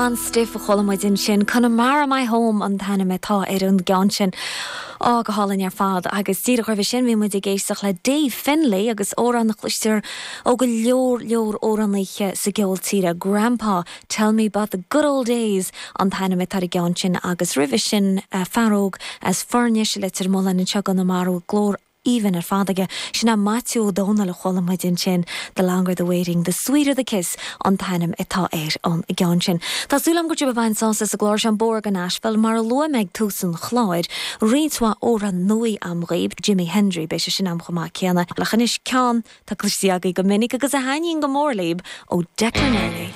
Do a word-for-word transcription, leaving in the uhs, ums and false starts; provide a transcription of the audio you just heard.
An stuif a chuala muid ansin Connemara my home an t-ainm atá ar an gceann sin. Á go hálainn ar fad agus díreach roimhe sin bhí muid ag éisteacht le Dave Finlay agus amhrán a chloistear ó go leor leor amhránaithe sa gceol tíre Grandpa Tell me about the good old days an t-ainm atá ar an gceann sin agus roimhe sin uh, fear óg as Foirnis Leitir Mealláin anseo i gConamara glór aoibhinn ar fad aige sin é Maitiú Ó Dónaill a chuala muid ansin the longer the waiting, the sweeter the kiss an t-ainm atá ar an gceann sin. Tá súil agam go bhfuil bain sása sa gclár an bór go Nashville mar a luaigh mé ag tús an chláir, roinnt mhaith amhrán nua agam dhaoibh Jimmy Hendry beidh sé sin agam chomh maith céanna le chois ceann tá cloiste agaibh go minic agus a thaitníonn go mór libh ó Declan Earley.